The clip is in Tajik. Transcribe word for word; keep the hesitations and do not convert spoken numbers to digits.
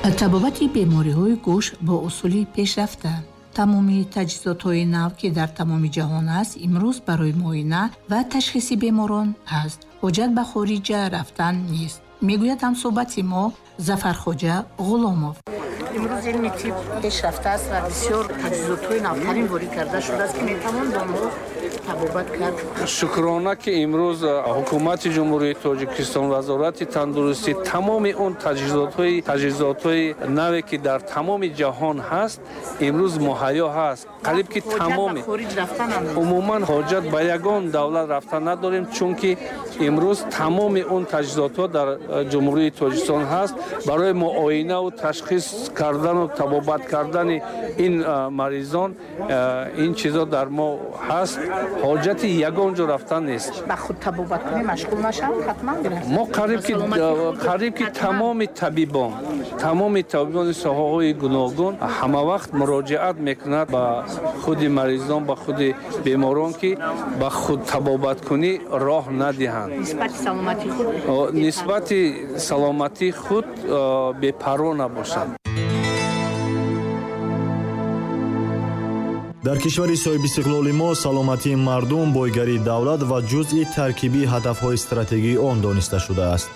Табобати бемориҳои гӯш бо усули пешрафта. Тамоми таҷҳизотҳои нав, ки дар тамоми ҷаҳон аст, имрӯз барои муоина ва ташхиси беморон аст. Ҳоҷат ба хориҷа рафтан нест, мегӯяд ҳамсӯҳбати мо Зафархоҷа Ғуломов. Имрӯз илми тиб пешрафта аст ва бисёр таҷҳизотҳои навтарин ворид карда шудааст, ки метавон бо онҳо табобат кард. Шукрона, ки имрӯз ҳукумати Ҷумҳурии Тоҷикистон, Вазорати тандурустӣ тамоми он таҷҳизотҳои таҷҳизотҳои наве, ки дар тамоми ҷаҳон ҳаст, имрӯз муҳайё ҳаст. Қариб ки тамоми умуман ҳоҷат ба ягон давлат рафтан надорем, чунки имрӯз тамоми он таҷҳизотҳо дар Ҷумҳурии Тоҷикистон ҳаст барои муоинаву ташхис кардану табобат кардани ин маризон. Ин чизо дар мо ҳаст, ҳоҷати ягон ҷо рафтан нест. Ба худтабобаткунӣ машғул нашаванд, ҳатман. Мо қариб ки қариб ки тамоми табибон тамоми табибони соҳаҳои гуногун ҳамавақт муроҷиат мекунад ба худи маризон, ба худи беморон, ки ба худтабобаткунӣ роҳ надиҳанд, нисбати саломатии худ бепарво набошанд. Дар кишвари соҳибистиқлоли мо саломатии мардум бойгарии давлат ва ҷузъи таркибии ҳадафҳои стратегии он дониста шудааст.